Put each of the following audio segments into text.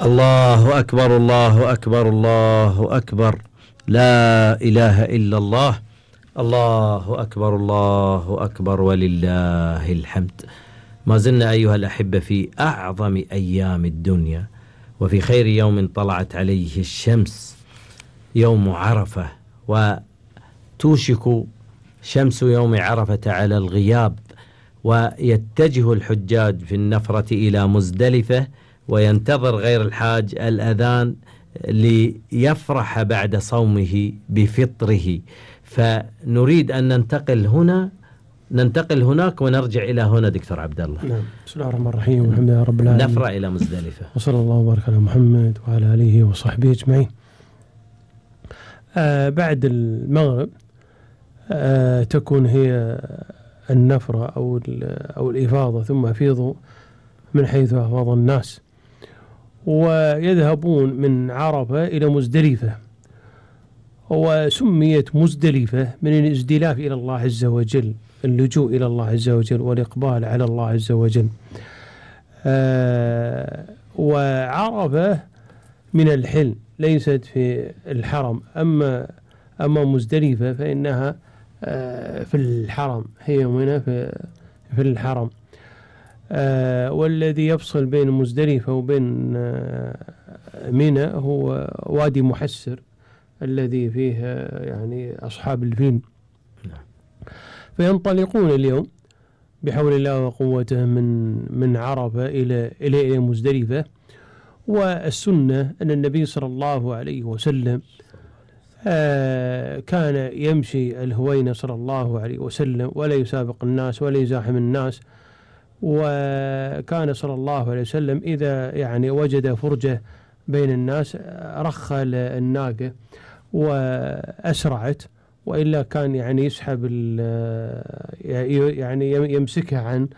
الله أكبر الله أكبر الله أكبر، لا إله إلا الله. الله أكبر الله أكبر ولله الحمد. ما زلنا أيها الأحبة في أعظم أيام الدنيا، وفي خير يوم طلعت عليه الشمس، يوم عرفة، وتوشك شمس يوم عرفة على الغياب، ويتجه الحجاج في النفرة إلى مزدلفة، وينتظر غير الحاج الأذان ليفرح بعد صومه بفطره. فنريد أن ننتقل هناك ونرجع إلى هنا دكتور عبد الله. نعم. بسم الله الرحمن الرحيم، والحمد لله رب العالمين. نفرة إلى مزدلفة، وصلى الله وبارك على محمد وعلى آله وصحبه أجمعين. بعد المغرب تكون هي النفرة أو الإفاضة، ثم أفيضوا من حيث أفاض الناس، ويذهبون من عرفة إلى مزدلفة. وسميت مزدلفة من الازدلاف إلى الله عز وجل، اللجوء إلى الله عز وجل والإقبال على الله عز وجل. وعرفة من الحل، ليست في الحرم. أما مزدلفة فإنها في الحرم، هي هنا في الحرم. والذي يفصل بين مزدلفة وبين منى هو وادي محسر الذي فيه يعني أصحاب الفيل. فينطلقون اليوم بحول الله وقوته من عرفة إلى مزدلفة. والسنة أن النبي صلى الله عليه وسلم كان يمشي الهوينة صلى الله عليه وسلم، ولا يسابق الناس ولا يزاحم الناس. وكان صلى الله عليه وسلم إذا يعني وجد فرجة بين الناس رخى الناقة وأسرعت، وإلا كان يعني يسحب يعني يمسكها عن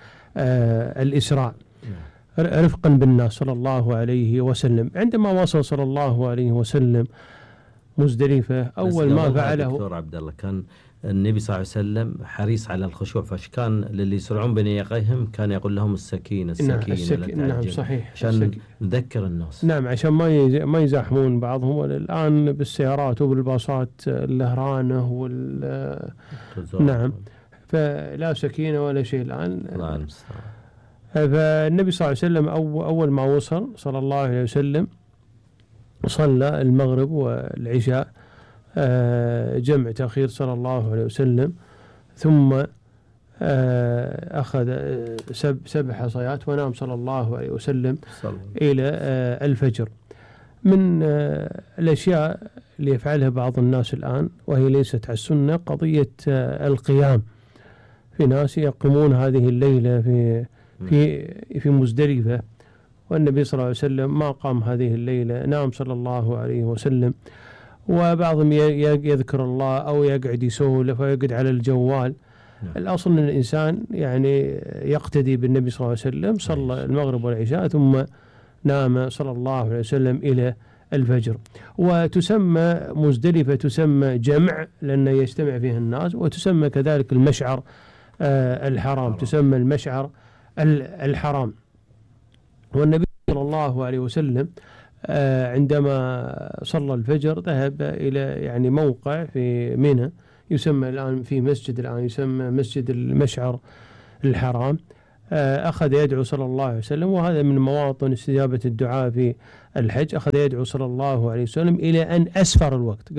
الإسراع رفقا بالناس صلى الله عليه وسلم. عندما وصل صلى الله عليه وسلم مزدلفة، أول ما فعله دكتور عبد الله، كان النبي صلى الله عليه وسلم حريص على الخشوع، فكان للي يسرعون بين يقيهم كان يقول لهم السكينة السكينة. نعم صحيح، عشان نذكر الناس. نعم، عشان ما يزاحمون بعضهم. الآن بالسيارات وبالباصات الهرانة نعم، فلا سكينة ولا شيء الآن. فالنبي صلى الله عليه وسلم أول ما وصل صلى الله عليه وسلم صلى المغرب والعشاء جمع تأخير صلى الله عليه وسلم، ثم أخذ 7 حصيات ونام صلى الله عليه وسلم إلى الفجر. من الأشياء اللي يفعلها بعض الناس الآن وهي ليست على السنة قضية القيام. في ناس يقومون هذه الليلة في مزدلفة، والنبي صلى الله عليه وسلم ما قام هذه الليلة، نام صلى الله عليه وسلم. وبعضهم يذكر الله أو يقعد يسولف ويقعد على الجوال. الأصل أن الإنسان يعني يقتدي بالنبي صلى الله عليه وسلم، صلى المغرب والعشاء ثم نام صلى الله عليه وسلم إلى الفجر. وتسمى مزدلفة تسمى جمع لأنه يجتمع فيها الناس، وتسمى كذلك المشعر الحرام، تسمى المشعر الحرام. والنبي صلى الله عليه وسلم عندما صلى الفجر ذهب إلى يعني موقع في منى يسمى الآن في مسجد الآن يسمى مسجد المشعر الحرام. أخذ يدعو صلى الله عليه وسلم، وهذا من مواطن استجابة الدعاء في الحج. أخذ يدعو صلى الله عليه وسلم إلى أن أسفر الوقت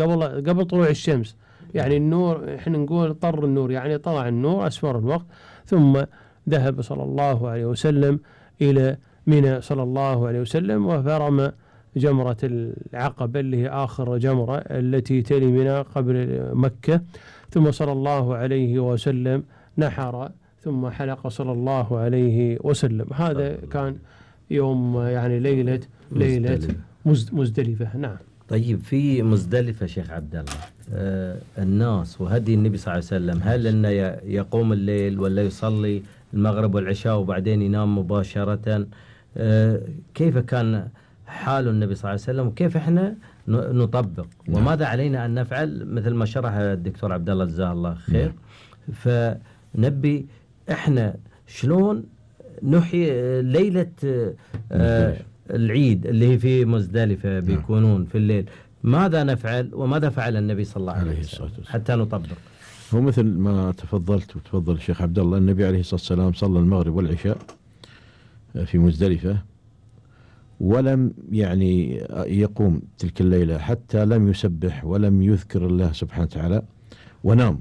قبل طلوع الشمس، يعني النور إحنا نقول طر النور، يعني طلع النور أسفر الوقت. ثم ذهب صلى الله عليه وسلم إلى منى صلى الله عليه وسلم، وفرم جمرة العقبة اللي هي آخر جمرة التي تلي منى قبل مكة. ثم صلى الله عليه وسلم نحر ثم حلق صلى الله عليه وسلم. هذا كان يوم يعني ليلة مزدلفة. نعم. طيب، في مزدلفة شيخ عبد الله الناس وهدي النبي صلى الله عليه وسلم، هل أنه يقوم الليل ولا يصلي المغرب والعشاء وبعدين ينام مباشرة؟ كيف كان حال النبي صلى الله عليه وسلم، وكيف احنا نطبق، وماذا علينا أن نفعل مثل ما شرح الدكتور عبد الله جزاه الله خير؟ فنبي احنا شلون نحيي ليلة العيد اللي هي في مزدلفة بيكونون في الليل، ماذا نفعل وماذا فعل النبي صلى الله عليه وسلم حتى نطبق؟ هو مثل ما تفضلت وتفضل الشيخ عبد الله، النبي عليه الصلاة والسلام صلى المغرب والعشاء في مزدلفة، ولم يعني يقوم تلك الليلة حتى لم يسبح ولم يذكر الله سبحانه وتعالى ونام.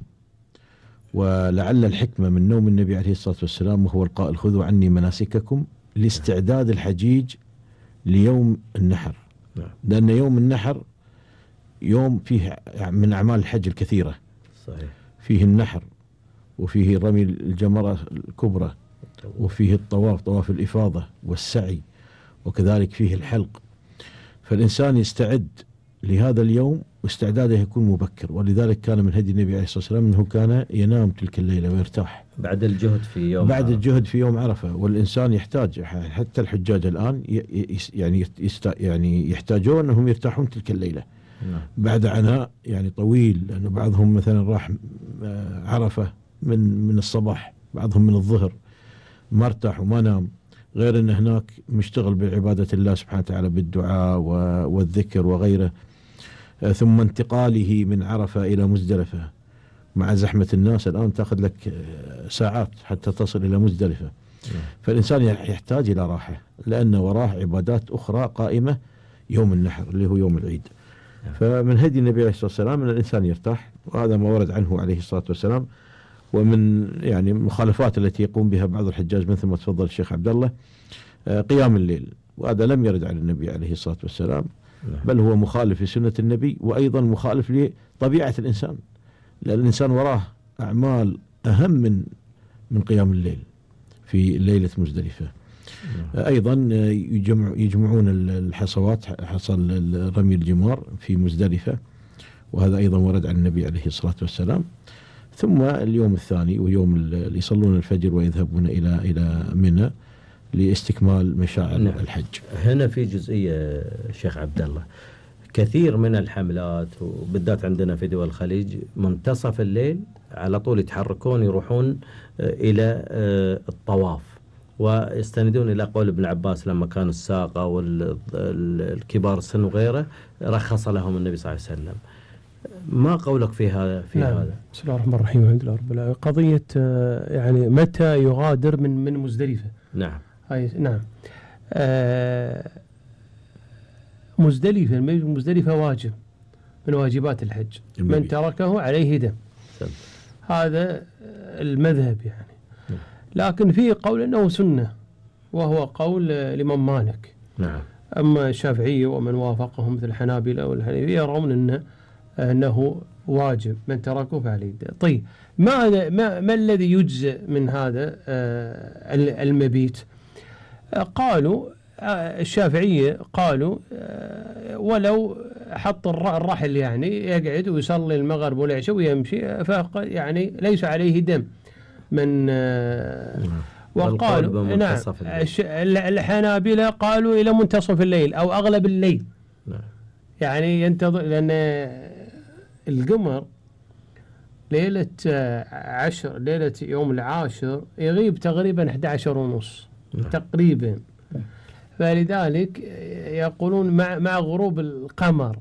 ولعل الحكمة من نوم النبي عليه الصلاة والسلام وهو القائل خذوا عني مناسككم لاستعداد الحجيج ليوم النحر، لأن يوم النحر يوم فيه من أعمال الحج الكثيرة، صحيح. فيه النحر وفيه رمي الجمرة الكبرى وفيه الطواف، طواف الإفاضة والسعي، وكذلك فيه الحلق. فالإنسان يستعد لهذا اليوم واستعداده يكون مبكر، ولذلك كان من هدي النبي عليه الصلاة والسلام أنه كان ينام تلك الليلة ويرتاح بعد الجهد في يوم بعد الجهد في يوم عرفة. والإنسان يحتاج، حتى الحجاج الآن يعني يحتاجون أنهم يرتاحون تلك الليلة بعد عناء يعني طويل، لأنه بعضهم مثلا راح عرفة من الصباح، بعضهم من الظهر ما ارتاح وما نام، غير أن هناك مشتغل بعبادة الله سبحانه وتعالى بالدعاء والذكر وغيره، ثم انتقاله من عرفة إلى مزدلفة مع زحمة الناس الآن تأخذ لك ساعات حتى تصل إلى مزدلفة. فالإنسان يحتاج إلى راحة، لأن وراه عبادات أخرى قائمة يوم النحر اللي هو يوم العيد. فمن هدي النبي عليه الصلاة والسلام أن الإنسان يرتاح، وهذا ما ورد عنه عليه الصلاة والسلام. ومن يعني المخالفات التي يقوم بها بعض الحجاج مثل ما تفضل الشيخ عبد الله قيام الليل، وهذا لم يرد عن النبي عليه الصلاة والسلام، بل هو مخالف لسنة النبي، وأيضا مخالف لطبيعة الإنسان، لأن الإنسان وراه أعمال أهم من قيام الليل في ليلة مزدلفة. أيضا يجمعون الحصوات، حصل رمي الجمار في مزدلفة، وهذا أيضا ورد عن النبي عليه الصلاة والسلام. ثم اليوم الثاني ويوم اللي يصلون الفجر ويذهبون إلى منى لاستكمال مشاعر الحج. هنا في جزئية شيخ عبد الله، كثير من الحملات وبالذات عندنا في دول الخليج منتصف الليل على طول يتحركون يروحون إلى الطواف، ويستندون إلى قول ابن عباس لما كانوا الساقة والكبار السن وغيره رخص لهم النبي صلى الله عليه وسلم. ما قولك في هذا؟ هذا بسم الله الرحمن الرحيم، الحمد لله رب العالمين. قضية يعني متى يغادر من مزدلفة؟ نعم. نعم. مزدلفة واجب من واجبات الحج، من تركه عليه دم. هذا المذهب يعني. لكن في قول أنه سنة، وهو قول الإمام مالك. نعم. أما الشافعية ومن وافقهم مثل الحنابلة والحنفية يرون أنه واجب، من تركه فعليه دم. طيب ما الذي يجزئ من هذا المبيت؟ قالوا الشافعية قالوا ولو حط الرحل يعني يقعد ويصلي المغرب والعشاء ويمشي، يعني ليس عليه دم من وقالوا نعم. الحنابلة قالوا إلى منتصف الليل أو أغلب الليل. نعم. يعني ينتظر، لأن القمر ليلة يوم العاشر يغيب تقريبا 11:30 تقريبا، فلذلك يقولون مع غروب القمر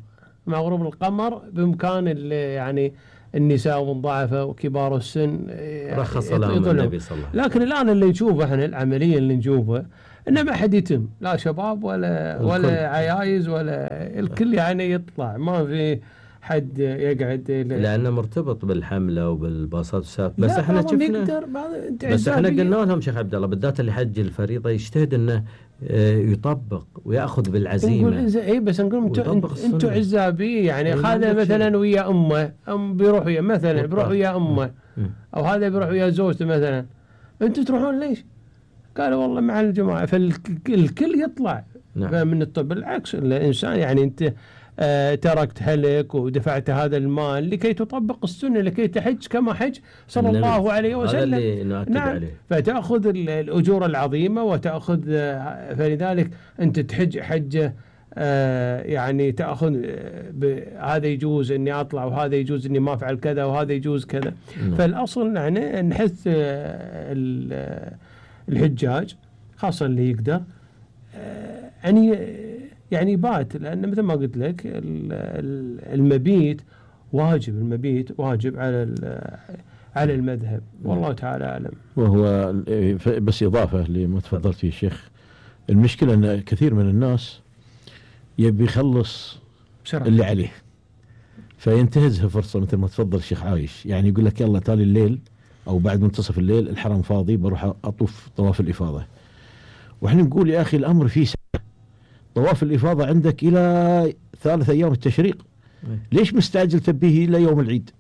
بإمكان يعني النساء والضعفاء وكبار السن رخص لهم النبي صلى الله عليه وسلم. لكن الآن اللي نشوفه احنا العملية اللي نشوفه إنه ما حد يتم، لا شباب ولا عيايز ولا الكل يعني يطلع، ما في حد يقعد لأنه مرتبط بالحملة وبالباصات والساق. بس احنا شفنا، بس احنا قلنا لهم شيخ عبد الله بالذات اللي حج الفريضة يجتهد انه يطبق ويأخذ بالعزيمة. اي بس نقول انتم عزابي يعني هذا مثلا ويا امه بيروح ويا مثلا بيروح ويا امه او هذا بيروح ويا زوجته مثلا، انتم تروحون ليش؟ قالوا والله مع الجماعة، فالكل يطلع. نعم. من الطب بالعكس، الإنسان يعني أنت تركت هلك ودفعت هذا المال لكي تطبق السنة، لكي تحج كما حج صلى الله عليه وسلم. هذا اللي نؤكد عليه. فتأخذ الأجور العظيمة وتأخذ، فلذلك أنت تحج حجة يعني تأخذ هذا يجوز إني أطلع وهذا يجوز إني ما أفعل كذا وهذا يجوز كذا. فالأصل يعني نحث الحجاج خاصة اللي يقدر يعني بات، لأن مثل ما قلت لك المبيت واجب على المذهب، والله تعالى أعلم. وهو بس إضافة لما تفضلت فيه الشيخ، المشكلة أن كثير من الناس يبي يخلص اللي عليه، فينتهزها فرصة مثل ما تفضل الشيخ عايش، يعني يقول لك يلا تالي الليل أو بعد منتصف الليل الحرم فاضي بروح أطوف طواف الإفاضة. وإحنا نقول يا أخي الأمر فيه سنة، طواف الإفاضة عندك إلى 3 أيام التشريق، ليش مستعجل تبيه إلى يوم العيد؟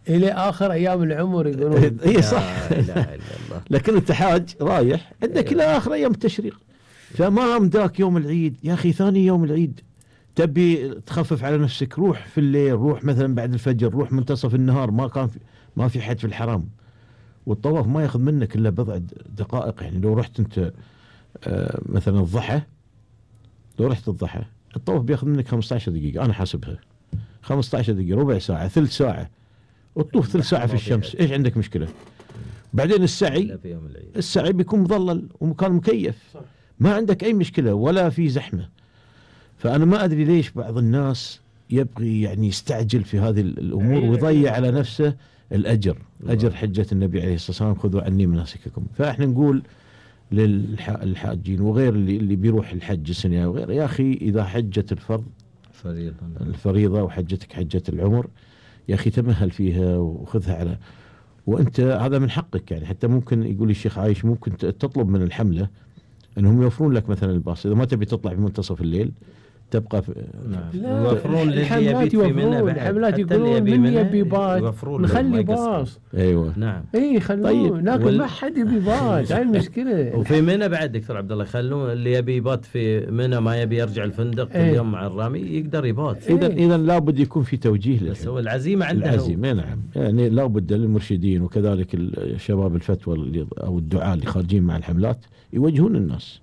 إلى آخر أيام العمر يقولون. إيه صح. لكن أنت حاج رايح عندك إلى آخر أيام التشريق، فما مداك يوم العيد يا أخي، ثاني يوم العيد تبي تخفف على نفسك، روح في الليل، روح مثلا بعد الفجر، روح منتصف النهار، ما في حد في الحرام، والطواف ما ياخذ منك إلا بضع دقائق. يعني لو رحت أنت مثلا الضحى، لو رحت الضحى الطواف بياخذ منك 15 دقيقة، أنا حاسبها 15 دقيقة، ربع ساعة، ثلث ساعة، وتطوف ثلث ساعة في الشمس، إيش عندك مشكلة؟ بعدين السعي بيكون مظلل ومكان مكيف، ما عندك أي مشكلة ولا في زحمة. فأنا ما أدري ليش بعض الناس يبغي يعني يستعجل في هذه الأمور ويضيع على نفسه الأجر، أجر حجة النبي عليه الصلاة والسلام، خذوا عني مناسككم. فإحنا نقول للحاجين وغير اللي بيروح الحج السنة وغير، يا أخي إذا حجة الفريضة وحجتك حجة العمر، يا أخي تمهل فيها وخذها على، وأنت هذا من حقك. يعني حتى ممكن يقول الشيخ عايش ممكن تطلب من الحملة أنهم يوفرون لك مثلا الباص، إذا ما تبي تطلع في منتصف الليل تبقى في يوفرون الحملات، الحملات يقولون من يبي بات نخلي باص. ايوه نعم خلوه. طيب. لكن ما حد يبي بات، هاي المشكله. وفي منى بعد دكتور عبد الله يخلون اللي يبي يبات في منى، ما يبي يرجع الفندق اليوم مع الرامي يقدر يبات. اذا لابد يكون في توجيه بس هو العزيمه عنده، العزيمه نعم، يعني لابد للمرشدين وكذلك الشباب الفتوى او الدعاة اللي خارجين مع الحملات يوجهون الناس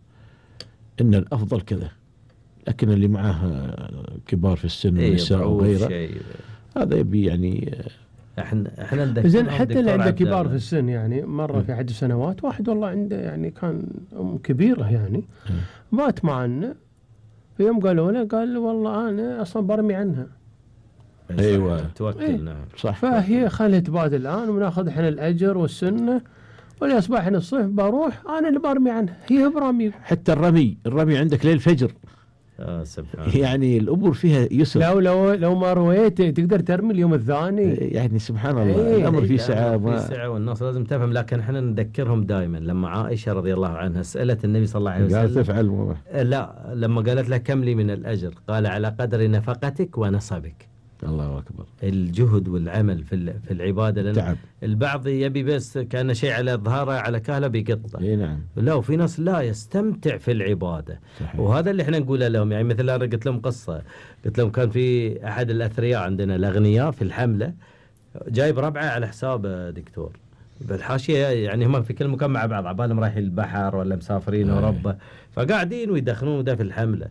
ان الافضل كذا، لكن اللي معه كبار في السن ونساء وغيره هذا يبي يعني احنا زين. حتى اللي عنده كبار في السن، يعني مره في احد السنوات واحد والله عنده يعني كان ام كبيره يعني بات معنا، في يوم قالوا له قال والله انا اصلا برمي عنها. ايوه توكل. نعم صح. فهي خلت تبات الان وناخذ احنا الاجر والسنه، والأصباح الصيف بروح أنا اللي برمي عنها، هي برمي. حتى الرمي عندك ليل الفجر. سبحان يعني الأمور فيها يسر. لو ما رويت تقدر ترمي اليوم الثاني. يعني سبحان الله الأمر فيه سعة. في سعة والناس لازم تفهم. لكن احنا نذكرهم دائما لما عائشة رضي الله عنها سألت النبي صلى الله عليه وسلم قال تفعل لا، لما قالت له كم لي من الأجر؟ قال على قدر نفقتك ونصبك. الله أكبر. الجهد والعمل في العبادة، لأن تعب. البعض يبي بس كان شيء على ظهره على كهله بيقطه. نعم. لا، وفي ناس لا يستمتع في العبادة. صحيح. وهذا اللي احنا نقوله لهم. يعني مثل أنا قلت لهم قصة، قلت لهم كان في أحد الأثرياء عندنا الأغنياء في الحملة جايب ربعه على حساب دكتور بالحاشية، يعني هم في كل مكان مع بعض، عبالهم رايحين البحر ولا مسافرين أوروبا، فقاعدين ويدخنون ده في الحملة.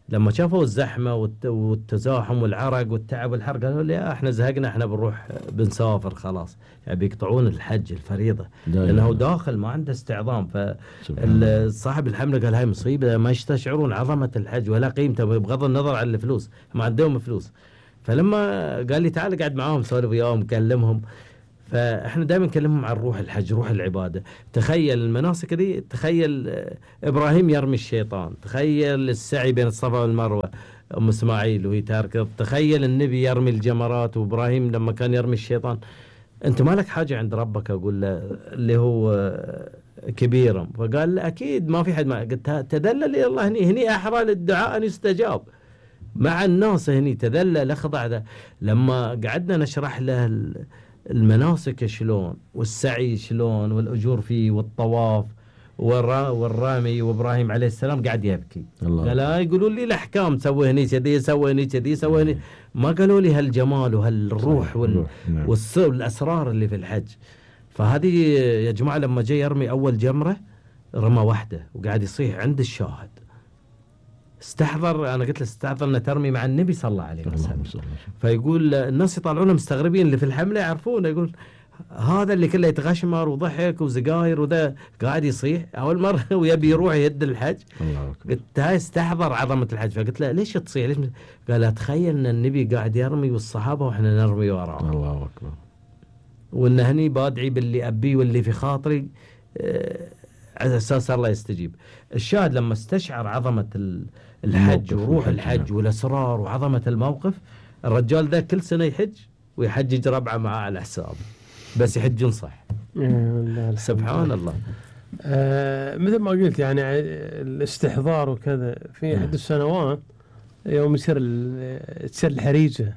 لما شافوا الزحمة والتزاحم والعرق والتعب والحرق قالوا لي احنا زهقنا، احنا بنروح بنسافر خلاص. يعني بيقطعون الحج الفريضة لأنه داخل ما عنده استعظام. فصاحب الحملة قال هاي مصيبة، ما يستشعرون عظمة الحج ولا قيمته بغض النظر عن الفلوس، ما عندهم فلوس. فلما قال لي تعال قاعد معاهم سولف وياهم كلمهم، فاحنا دائما نكلمهم عن روح الحج، روح العباده. تخيل المناسك دي، تخيل ابراهيم يرمي الشيطان، تخيل السعي بين الصفا والمروه ام اسماعيل وهي تاركه، تخيل النبي يرمي الجمرات وابراهيم لما كان يرمي الشيطان. انت ما لك حاجه عند ربك؟ اقول له اللي هو كبيرا. فقال اكيد ما في حد. ما قلت تذلل الى الله، هني احرى للدعاء ان يستجاب مع الناس، هني تذلل اخضع. لما قعدنا نشرح له المناسك شلون والسعي شلون والأجور فيه والطواف والرامي، وإبراهيم عليه السلام قاعد يبكي. قال يقولوا لي الأحكام سوي هني كذي، سوي هني كذي، سوي هني، ما قالوا لي هالجمال وهالروح والأسرار اللي في الحج. فهذه يا جماعة لما جاي يرمي أول جمرة رمى واحدة وقاعد يصيح عند الشاهد. استحضر، أنا قلت له استحضر أن ترمي مع النبي صلى الله عليه وسلم. فيقول الناس يطالعونه مستغربين، اللي في الحملة يعرفونه، يقول هذا اللي كله يتغشمر وضحك وزقاير وذا قاعد يصيح اول مره ويبي يروح يهد الحج. قلت هاي استحضر عظمه الحج، فقلت له ليش تصيح ليش؟ قال اتخيل ان النبي قاعد يرمي والصحابه واحنا نرمي وراه. الله اكبر. وان هني بادعي باللي ابيه واللي في خاطري على اساس الله يستجيب. الشاهد لما استشعر عظمه الحج وروح الحج والاسرار وعظمه الموقف، الرجال ده كل سنه يحج ويحجج ربعه معاه على حسابه، بس يحجون صح. سبحان الله. مثل ما قلت يعني الاستحضار وكذا في احد السنوات يوم تصير الحريجه.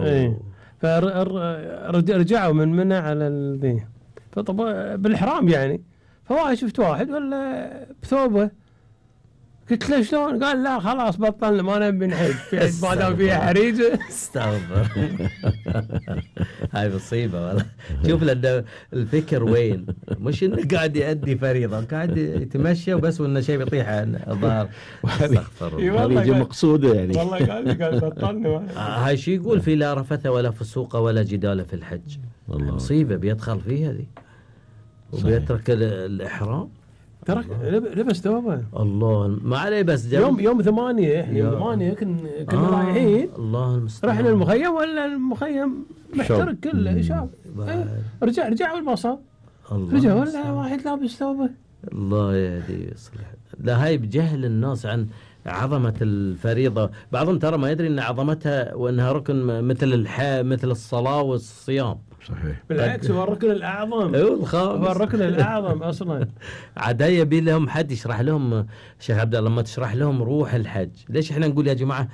ايه. فرجعوا من منى على الذي، فطبعا بالإحرام يعني، فواحد شفت واحد ولا بثوبه، قلت له شلون؟ قال لا خلاص بطلنا ما نبي نحج ما دام فيها حريجه. استغفر. هاي مصيبه والله. شوف لأن الفكر وين، مش انه قاعد يؤدي فريضه، قاعد يتمشى وبس وانه شيء بيطيح الظهر. استغفر الله. هذه مقصوده يعني. والله قال بطلنا. هاي شو يقول في لا رفث ولا فسوق ولا جدال في الحج. مصيبه بيدخل فيها ذي وبيترك الإحرام. ترك لبس ثوبه. الله ما عليه بس يوم 8 كنا رايحين. الله المستعان. رحنا المخيم ولا المخيم محترق كله شاب. رجع والبصر. رجع ولا واحد لابس ثوبه. الله يهدي يصلح. لا هاي بجهل الناس عن عظمة الفريضة. بعضهم ترى ما يدري ان عظمتها وانها ركن مثل الصلاة والصيام. صحيح. بالعكس هو الركن الأعظم. هو الركن الأعظم أصلا. عاد يبي لهم حد يشرح لهم. شيخ عبد الله لما تشرح لهم روح الحج، ليش احنا نقول يا جماعة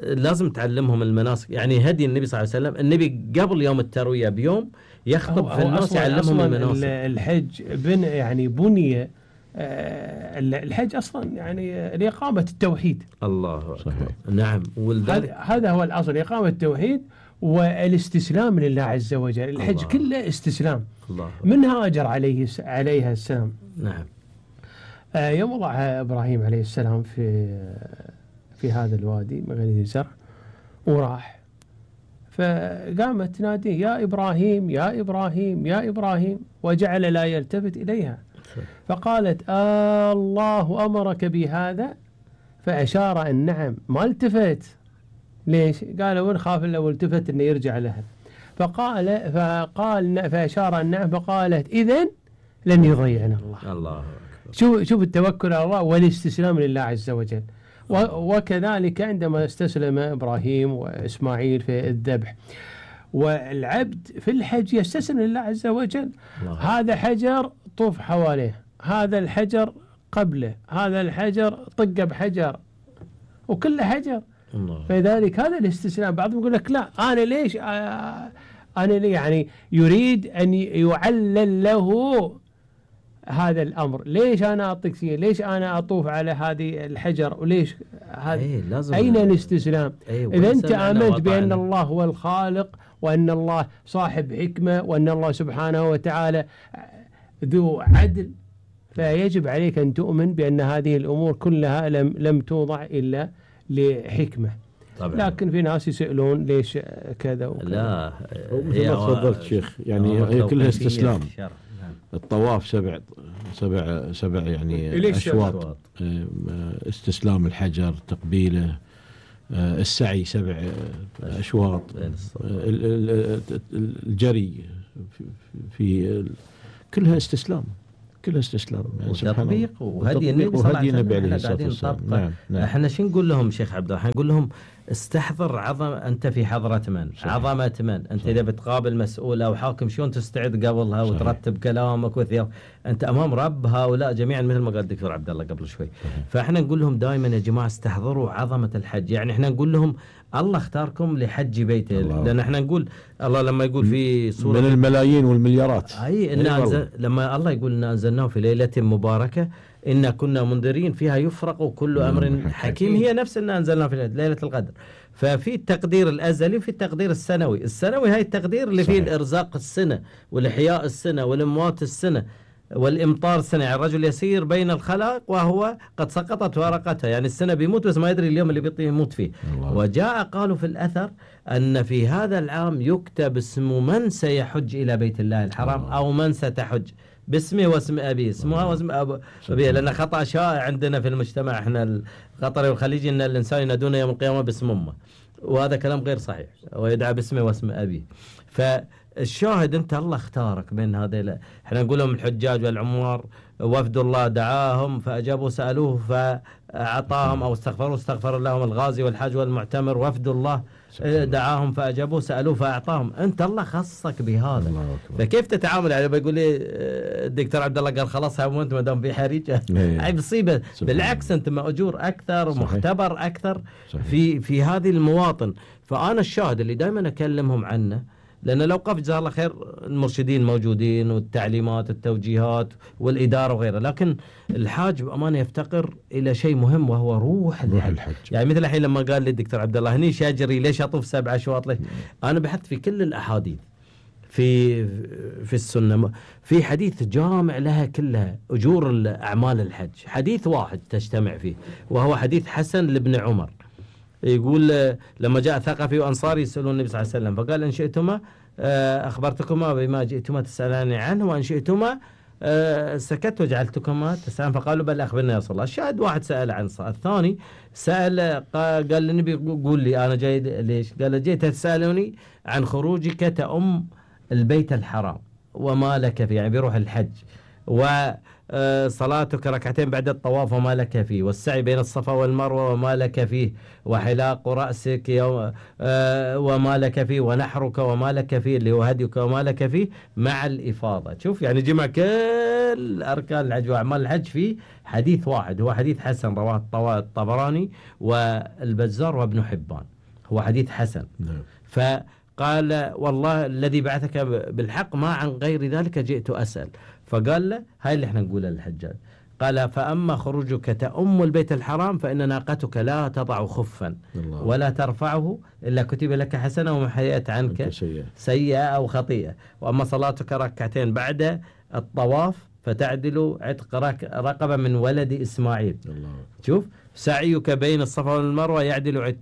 لازم تعلمهم المناسك؟ يعني هدي النبي صلى الله عليه وسلم، النبي قبل يوم التروية بيوم يخطب في الناس يعلمهم المناسك. الحج يعني بني الحج أصلا يعني لإقامة التوحيد. الله صحيح. نعم. هذا هو الأصل، إقامة التوحيد والاستسلام لله عز وجل. الحج كله استسلام. الله. من هاجر عليها السلام. نعم. يوم وضع إبراهيم عليه السلام في هذا الوادي مغرب الزرع وراح، فقامت تناديه يا إبراهيم يا إبراهيم يا إبراهيم، وجعل لا يلتفت إليها، فقالت الله أمرك بهذا؟ فأشار أن نعم، ما التفت. ليش؟ قالوا ونخاف لو التفت انه يرجع لها. فقال فأشار النعم، فقالت إذن لن يضيعنا الله. الله. شوف التوكل على الله والاستسلام لله عز وجل. وكذلك عندما استسلم إبراهيم وإسماعيل في الذبح، والعبد في الحج يستسلم لله عز وجل. هذا حجر طوف حواليه، هذا الحجر قبله، هذا الحجر طق بحجر، وكل حجر. فلذلك هذا الاستسلام. بعضهم يقول لك لا أنا ليش يعني يريد أن يعلل له هذا الأمر، ليش أنا أطق فيه، ليش أنا أطوف على هذه الحجر، وليش هذا أين الاستسلام؟ إذا أنت آمنت بأن الله هو الخالق وأن الله صاحب حكمة وأن الله سبحانه وتعالى ذو عدل، فيجب عليك أن تؤمن بأن هذه الأمور كلها لم توضع إلا لحكمة. طبعا. لكن في ناس يسألون ليش كذا وكذا. لا هي تفضلت شيخ، يعني هي كلها استسلام. الطواف سبع يعني أشواط، استسلام الحجر، تقبيله، السعي 7 أشواط، الجري في كلها استسلام. كلها استسلام يعني وتطبيق وهدي النبي عليه الصلاة والسلام. نعم. احنا شو نقول لهم شيخ عبد الله؟ نقول لهم استحضر أنت في حضرة من؟ صحيح. عظمة من؟ أنت إذا بتقابل مسؤول أو حاكم شلون تستعد قبلها وترتب كلامك وثياب؟ أنت أمام رب هؤلاء جميعا مثل ما قال الدكتور عبد الله قبل شوي. فاحنا نقول لهم دائما يا جماعة استحضروا عظمة الحج. يعني احنا نقول لهم الله اختاركم لحج بيته، لأن احنا نقول الله لما يقول في سورة من الملايين والمليارات، لما الله يقول إن أنزلناه في ليلة مباركة إنا كنا منذرين فيها يفرق كل أمر حكيم. هي نفس إن أنزلناه في ليلة القدر. ففي التقدير الأزلي وفي التقدير السنوي. هاي التقدير اللي فيه الإرزاق السنة والإحياء السنة والأموات السنة. والإمطار سنة، يعني الرجل يسير بين الخلق وهو قد سقطت ورقته، يعني السنة بيموت بس ما يدري اليوم اللي يموت فيه. وجاء قالوا في الأثر أن في هذا العام يكتب اسم من سيحج إلى بيت الله الحرام أو من ستحج باسمه واسم أبيه، اسمها واسم أبيه، لأن خطأ شائع عندنا في المجتمع احنا القطري والخليجي أن الإنسان ينادون يوم القيامة باسم أمه، وهذا كلام غير صحيح، ويدعى باسمه واسم أبيه. فالشاهد أنت الله اختارك بين هذه، احنا نقول لهم الحجاج والعمار وفد الله دعاهم فأجابوا سألوه فأعطاهم، أو استغفر لهم الغازي والحاج والمعتمر، وفد الله دعاهم فأجابوا سألوه فأعطاهم. أنت الله خصك بهذا، فكيف تتعامل؟ يعني بيقول لي الدكتور عبد الله قال خلاص وانت ما دام في حريجة هاي مصيبة، بالعكس أنت مأجور أكثر ومختبر أكثر في هذه المواطن. فأنا الشاهد اللي دائما أكلمهم عنه، لأن لو قف جزاه الله خير المرشدين موجودين والتعليمات والتوجيهات والإدارة وغيرها، لكن الحاج بأمانة يفتقر إلى شيء مهم وهو روح الحج. يعني مثل الحين لما قال لي الدكتور عبد الله هني شاجري ليش أطوف 7 أشواط ليش؟ أنا بحثت في كل الأحاديث في السنة، في حديث جامع لها كلها أجور أعمال الحج، حديث واحد تجتمع فيه وهو حديث حسن لابن عمر، يقول لما جاء ثقفي وأنصاري يسألون النبي صلى الله عليه وسلم فقال إن شئتما أخبرتكما بما جئتما تسألاني عنه وإن شئتما سكت وجعلتكما تسألان، فقالوا بل أخبرنا يا رسول الله. الشاهد واحد سأل عن الثاني سأل قال للنبي قول لي أنا جاي ليش؟ قال جيت تسألني عن خروجك تأم البيت الحرام وما لك فيه، يعني بيروح الحج، وصلاتك ركعتين بعد الطواف وما لك فيه، والسعي بين الصفا والمروة وما لك فيه، وحلاق رأسك وما لك فيه، ونحرك وما لك فيه اللي هو هديك وما لك فيه مع الإفاضة. شوف يعني جمع كل أركان الحج وأعمال الحج في حديث واحد، هو حديث حسن رواه الطبراني والبزار وابن حبان، هو حديث حسن. فقال والله الذي بعثك بالحق ما عن غير ذلك جئت أسأل. فقال له هاي اللي احنا نقولها للحجاج، قال فأما خروجك تأم البيت الحرام فإن ناقتك لا تضع خفا ولا ترفعه إلا كتب لك حسنة ومحيت عنك سيئة أو خطيئة، وأما صلاتك ركعتين بعد الطواف فتعدل عتق رقبة من ولد إسماعيل. شوف سعيك بين الصفا والمروة يعدل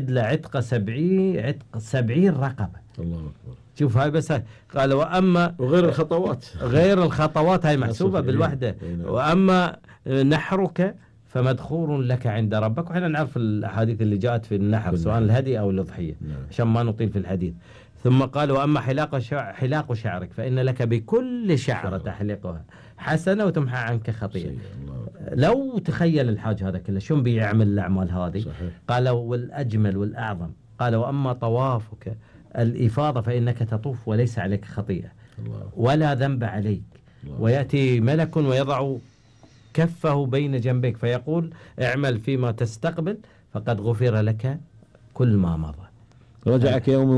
عتق 70 رقبة. الله أكبر. شوف هاي بس هاي. قال وأما غير الخطوات هاي محسوبة بالوحدة، وأما نحرك فمدخور لك عند ربك. وحنا نعرف الأحاديث اللي جاءت في النحر سواء الهدي أو الأضحية عشان ما نطيل في الحديث. ثم قال وأما حلاق شعرك فإن لك بكل شعرة تحلقها حسنة وتمحى عنك خطيئة. لو تخيل الحاج هذا كله شو بيعمل الأعمال هذه؟ قال والأجمل والأعظم قال وأما طوافك الإفاضة فإنك تطوف وليس عليك خطيئة ولا ذنب عليك، ويأتي ملك ويضع كفه بين جنبيك فيقول اعمل فيما تستقبل فقد غفر لك كل ما مضى. رجعك يوم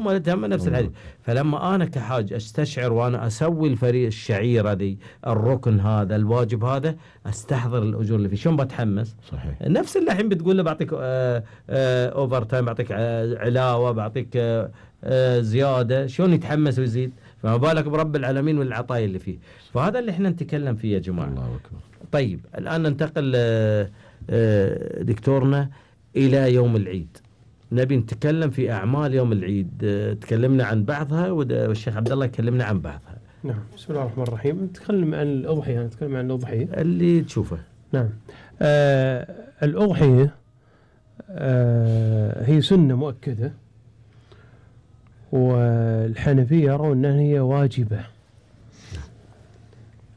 ولدتها من نفس الحديث. فلما أنا كحاج أستشعر وأنا أسوي الفريق الشعيرة دي الركن هذا الواجب هذا أستحضر الأجور اللي فيه شون بتحمس. صحيح. نفس اللي الحين بتقول له بعطيك أوفر تايم، بعطيك علاوة، بعطيك زيادة، شون يتحمس ويزيد، فما بالك برب العالمين والعطايا اللي فيه. فهذا اللي احنا نتكلم فيه يا جماعة. الله أكبر. طيب الآن ننتقل دكتورنا إلى يوم العيد. نبي نتكلم في أعمال يوم العيد، تكلمنا عن بعضها والشيخ عبد الله يكلمنا عن بعضها. نعم بسم الله الرحمن الرحيم. نتكلم عن الأضحية، نتكلم عن الأضحية اللي تشوفه. نعم الأضحية هي سنة مؤكدة، والحنفية يرون أنها هي واجبة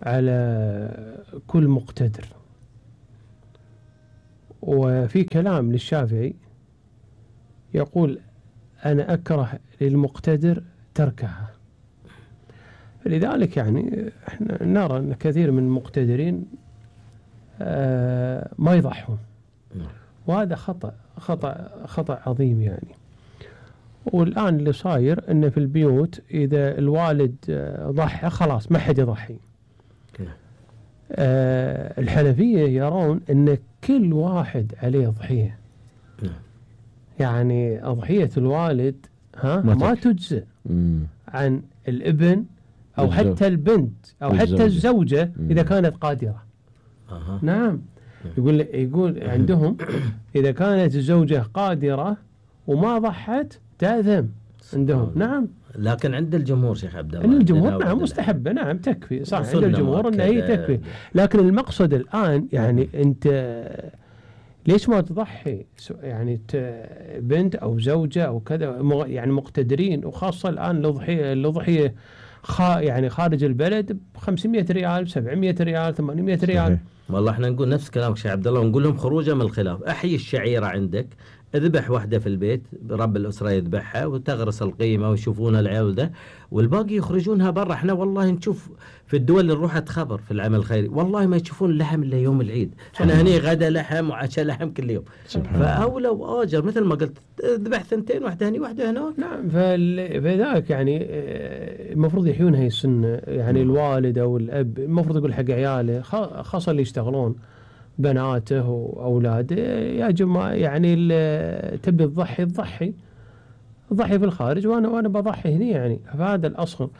على كل مقتدر، وفي كلام للشافعي يقول أنا أكره للمقتدر تركها. لذلك يعني احنا نرى أن كثير من المقتدرين ما يضحون، وهذا خطأ عظيم يعني. والآن اللي صاير أن في البيوت إذا الوالد ضحى خلاص ما حد يضحي. الحنفية يرون أن كل واحد عليه ضحية، يعني أضحية الوالد ما تجزئ عن الابن أو حتى البنت أو حتى الزوجة إذا كانت قادرة. نعم. يقول عندهم إذا كانت الزوجة قادرة وما ضحت تأثم عندهم. نعم. لكن عند الجمهور شيخ عبد الله، عند الجمهور نعم مستحبة، نعم تكفي، صح عند الجمهور أن هي تكفي. لكن المقصد الآن يعني أنت ليش ما تضحي يعني بنت أو زوجة أو كذا يعني مقتدرين، وخاصة الآن الأضحية يعني خارج البلد ب 500 ريال 700 ريال 800 ريال. والله احنا نقول نفس كلامك شيخ عبد الله، ونقول لهم خروجا من الخلاف. احيي الشعيرة عندك، اذبح واحدة في البيت، رب الأسرة يذبحها وتغرس القيمة ويشوفون العيال ده، والباقي يخرجونها برا. احنا والله نشوف في الدول اللي روحت خبر في العمل الخيري والله ما يشوفون اللحم الا يوم العيد. احنا هني غدا لحم وعشاء لحم كل يوم. فأولى وآجر مثل ما قلت اذبح 2 واحدة هني واحدة هناك. نعم. فذلك يعني المفروض يحيون هاي السنة، يعني الوالد أو الأب المفروض يقول حق عياله خاصة اللي يشتغلون بناته وأولاده يا جماعة يعني تبي تضحي في الخارج وأنا بضحي هنا يعني. فهذا الأصل،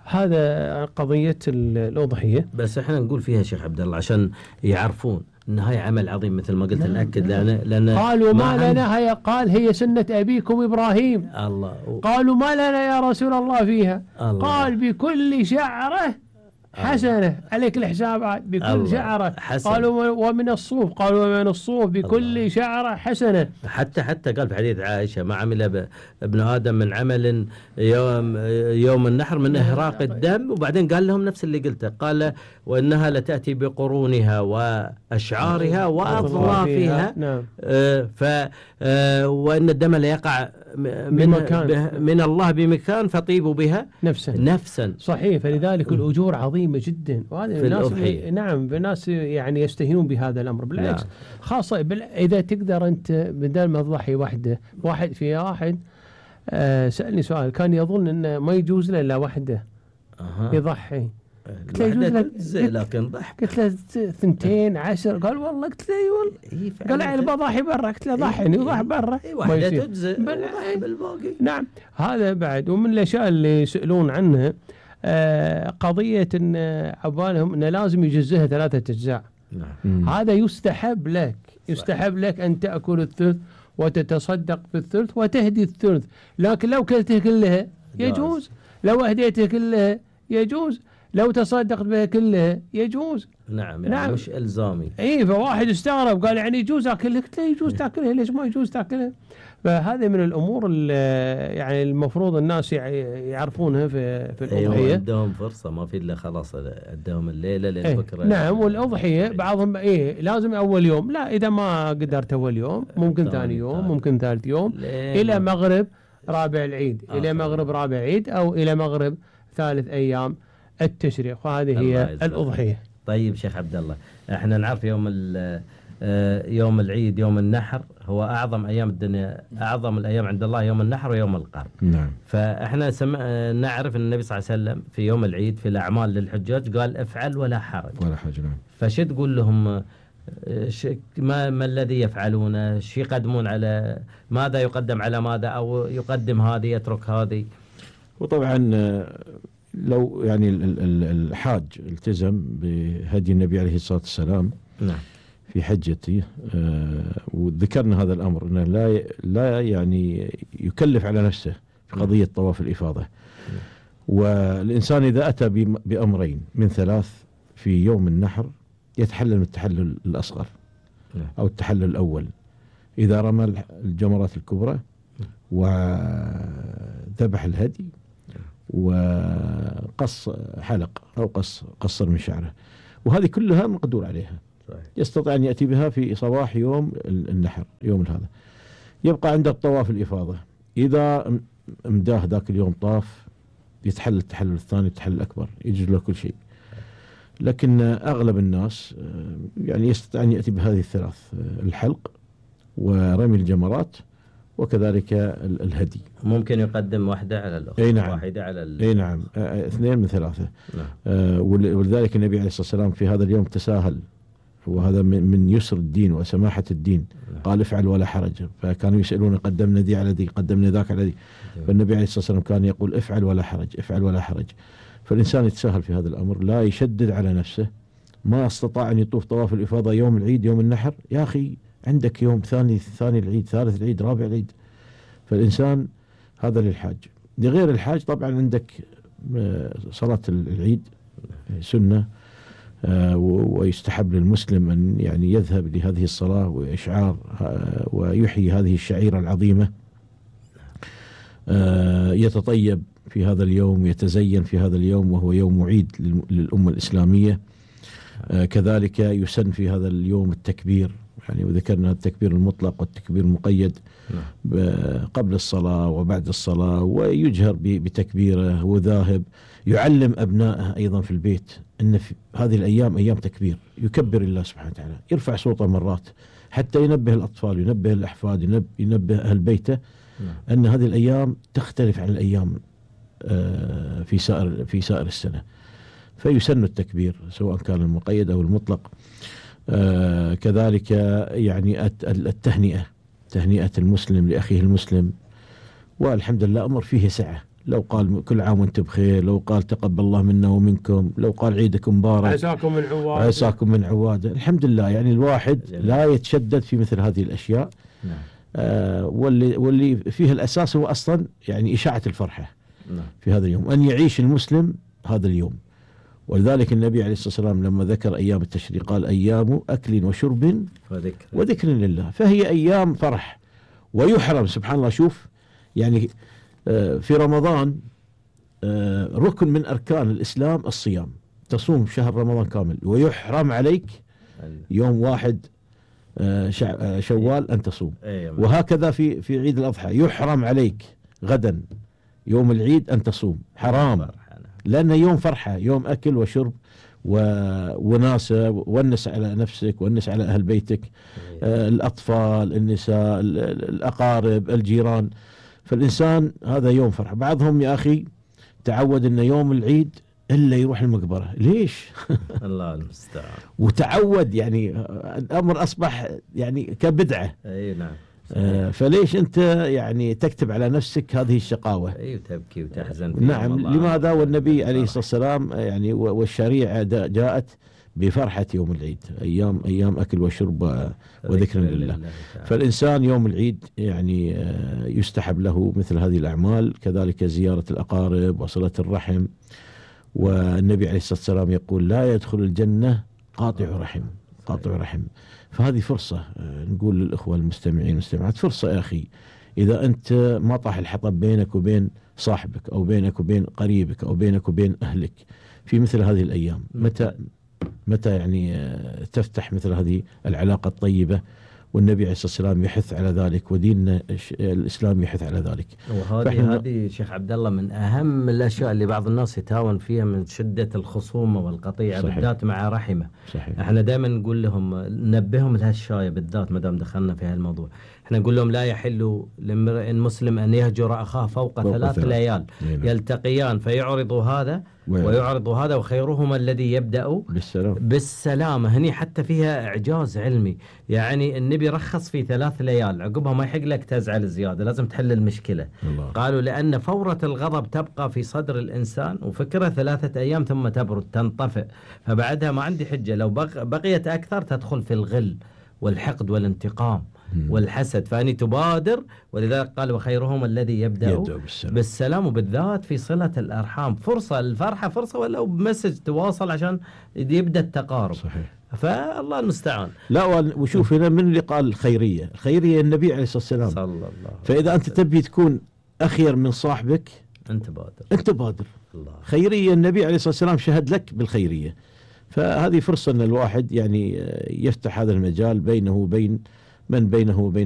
هذا قضية الأضحية. بس احنا نقول فيها شيخ عبد الله عشان يعرفون ان هاي عمل عظيم مثل ما قلت. نأكد لأن قالوا ما لنا قال هي سنة أبيكم إبراهيم. الله. قالوا ما لنا يا رسول الله فيها. الله. قال بكل شعرة حسنة، عليك الحسابات بكل شعرة. قالوا ومن الصوف، قالوا ومن الصوف بكل شعرة حسنة. حتى قال في حديث عائشة ما عمل ابن آدم من عمل يوم النحر من إهراق الدم، وبعدين قال لهم نفس اللي قلته، قال وإنها لتأتي بقرونها وأشعارها وأظلافها. نعم. وإن الدم ليقع من الله بمكان فطيبوا بها نفسا. صحيح. فلذلك الأجور عظيمة جدا، وهذا الناس نعم الناس يعني يستهينون بهذا الأمر. بالعكس نعم. خاصة إذا تقدر أنت بدل ما تضحي واحد سألني سؤال، كان يظن أنه ما يجوز له إلا واحدة يضحي. قلت له يجوز لك لكن ضحك. قلت له 2 10. قال والله. قلت له والله. قال يعني بضحي برا. قلت له ضحني وضح برا. واحدة تجزئ بالباقي. نعم. هذا بعد ومن الأشياء اللي يسألون عنها قضية أن عبالهم أنه لازم يجزئها 3 أجزاء. نعم. هذا يستحب لك أن تأكل الثلث وتتصدق بالثلث وتهدي الثلث، لكن لو كلته كلها يجوز، لو أهديته كلها يجوز، لو تصدقت بها كلها يجوز. نعم. يعني مش إلزامي. فواحد استغرب قال يعني يجوز أكلها. قلت له يجوز تأكلها، ليش ما يجوز تأكلها؟ فهذه من الأمور يعني المفروض الناس يعرفونها في الأضحية. عندهم فرصة ما في إلا خلاص عندهم الليلة للبكرة. نعم. والأضحية بعضهم لازم أول يوم، لا إذا ما قدرت أول يوم ممكن ثاني يوم ممكن ثالث يوم إلى مغرب رابع العيد، إلى مغرب رابع عيد أو إلى مغرب 3 أيام التشريق. وهذه هي الأضحية. طيب شيخ عبد الله، احنا نعرف يوم العيد يوم النحر هو أعظم أيام الدنيا، أعظم الأيام عند الله يوم النحر ويوم القرب. نعم. فإحنا نعرف أن النبي صلى الله عليه وسلم في يوم العيد في الأعمال للحجاج قال افعل ولا حرج. نعم. فش تقول لهم ما الذي يفعلونه؟ شو يقدمون على ماذا يقدم على ماذا، أو يقدم هذه يترك هذه؟ وطبعا لو يعني الحاج التزم بهدي النبي عليه الصلاة والسلام نعم في حجته، وذكرنا هذا الأمر أنه لا يعني يكلف على نفسه في قضية طواف الإفاضة. والإنسان إذا أتى بأمرين من 3 في يوم النحر يتحلل من التحلل الأصغر أو التحلل الأول، إذا رمى الجمرات الكبرى وذبح الهدي وقص حلق أو قصر من شعره، وهذه كلها مقدور عليها. يستطيع أن يأتي بها في صباح يوم النحر يوم هذا. يبقى عند الطواف الإفاضة، إذا امداه ذاك اليوم طاف يتحلل التحلل الثاني التحلل الأكبر، يجوز له كل شيء. لكن أغلب الناس يعني يستطيع أن يأتي بهذه الثلاث: الحلق ورمي الجمرات وكذلك الهدي. ممكن يقدم واحدة على الأخرى. نعم. واحدة على أي نعم، 2 من 3. نعم. ولذلك النبي عليه الصلاة والسلام في هذا اليوم تساهل، وهذا من يسر الدين وسماحة الدين. نعم. قال افعل ولا حرج، فكانوا يسألون قدمنا دي على دي، قدمنا ذاك على دي. فالنبي عليه الصلاة والسلام كان يقول افعل ولا حرج، افعل ولا حرج. فالإنسان يتساهل في هذا الأمر، لا يشدد على نفسه. ما استطاع أن يطوف طواف الإفاضة يوم العيد يوم النحر، يا أخي عندك يوم ثاني العيد، ثالث العيد، رابع العيد. فالإنسان هذا للحاج. لغير الحاج طبعا عندك صلاة العيد سنة، ويستحب للمسلم أن يعني يذهب لهذه الصلاة وإشعار ويحيي هذه الشعيرة العظيمة، يتطيب في هذا اليوم، يتزين في هذا اليوم وهو يوم عيد للأمة الإسلامية. كذلك يسن في هذا اليوم التكبير، يعني وذكرنا التكبير المطلق والتكبير المقيد قبل الصلاة وبعد الصلاة، ويجهر بتكبيره وذاهب. يعلم أبنائه أيضا في البيت أن في هذه الأيام أيام تكبير، يكبر الله سبحانه وتعالى، يرفع صوته مرات حتى ينبه الأطفال، ينبه الأحفاد، ينبه أهل بيته أن هذه الأيام تختلف عن الأيام في سائر السنة. فيسن التكبير سواء كان المقيد أو المطلق. كذلك يعني تهنئة المسلم لأخيه المسلم، والحمد لله أمر فيه سعة. لو قال كل عام وانتم بخير، لو قال تقبل الله منا ومنكم، لو قال عيدكم مبارك، عساكم من عواد، الحمد لله. يعني الواحد لا يتشدد في مثل هذه الأشياء. واللي فيه الأساس هو أصلا يعني إشاعة الفرحة في هذا اليوم، أن يعيش المسلم هذا اليوم. ولذلك النبي عليه الصلاة والسلام لما ذكر أيام التشريق قال أيام أكل وشرب وذكر لله. فهي أيام فرح. ويحرم سبحان الله، شوف يعني في رمضان ركن من أركان الإسلام الصيام، تصوم شهر رمضان كامل، ويحرم عليك يوم 1 شوال أن تصوم. وهكذا في عيد الأضحى يحرم عليك غدا يوم العيد أن تصوم، حرام، لأنه يوم فرحة، يوم أكل وشرب وناسة، ونس على نفسك، ونس على أهل بيتك، الأطفال، النساء، الأقارب، الجيران. فالإنسان هذا يوم فرحة. بعضهم يا أخي تعود أن يوم العيد إلا يروح المقبرة، ليش؟ الله المستعان. وتعود، يعني الأمر أصبح يعني كبدعة. أي نعم. فليش أنت يعني تكتب على نفسك هذه الشقاوة؟ وتبكي وتحزن. نعم. لماذا؟ والنبي عليه الصلاة والسلام يعني والشريعة جاءت بفرحة يوم العيد، أيام أكل وشرب وذكر لله. فالإنسان يوم العيد يعني يستحب له مثل هذه الأعمال، كذلك زيارة الأقارب وصلة الرحم. والنبي عليه الصلاة والسلام يقول لا يدخل الجنة قاطع رحم. فهذه فرصة نقول للإخوة المستمعين والمستمعات، فرصة يا أخي، إذا أنت ما طاح الحطب بينك وبين صاحبك، أو بينك وبين قريبك، أو بينك وبين أهلك في مثل هذه الأيام، متى يعني تفتح مثل هذه العلاقة الطيبة؟ والنبي عليه الصلاة والسلام يحث على ذلك، وديننا الإسلام يحث على ذلك. وهذه شيخ عبد الله من أهم الأشياء اللي بعض الناس يتهاون فيها من شدة الخصومة والقطيعة، بالذات مع رحمه. صحيح. احنا دائما نقول لهم، ننبههم لهالشاية بالذات ما دام دخلنا في هالموضوع. احنا نقول لهم لا يحل لامرئ مسلم أن يهجر أخاه فوق 3 ليال يلتقيان فيعرض هذا ويعرض هذا، وخيرهما الذي يبدأ بالسلامة. هني حتى فيها إعجاز علمي، يعني النبي رخص في 3 ليال، عقبها ما يحق لك تزعل زيادة، لازم تحل المشكلة. قالوا لأن فورة الغضب تبقى في صدر الإنسان، وفكرة 3 أيام ثم تبرد تنطفئ، فبعدها ما عندي حجة، لو بقيت أكثر تدخل في الغل والحقد والانتقام والحسد، فأني تبادر. ولذلك قال وخيرهم الذي يبدأ بالسلام، وبالذات في صلة الأرحام. فرصة الفرحة، فرصة ولو بمسج تواصل عشان يبدأ التقارب. صحيح. فالله المستعان. لا، وشوف هنا من اللي قال الخيرية النبي عليه الصلاة والسلام صلى الله. فإذا أنت تبي تكون أخير من صاحبك أنت بادر. الله. خيرية النبي عليه الصلاة والسلام شهد لك بالخيرية. فهذه فرصة أن الواحد يعني يفتح هذا المجال بينه وبين من بينه وبينه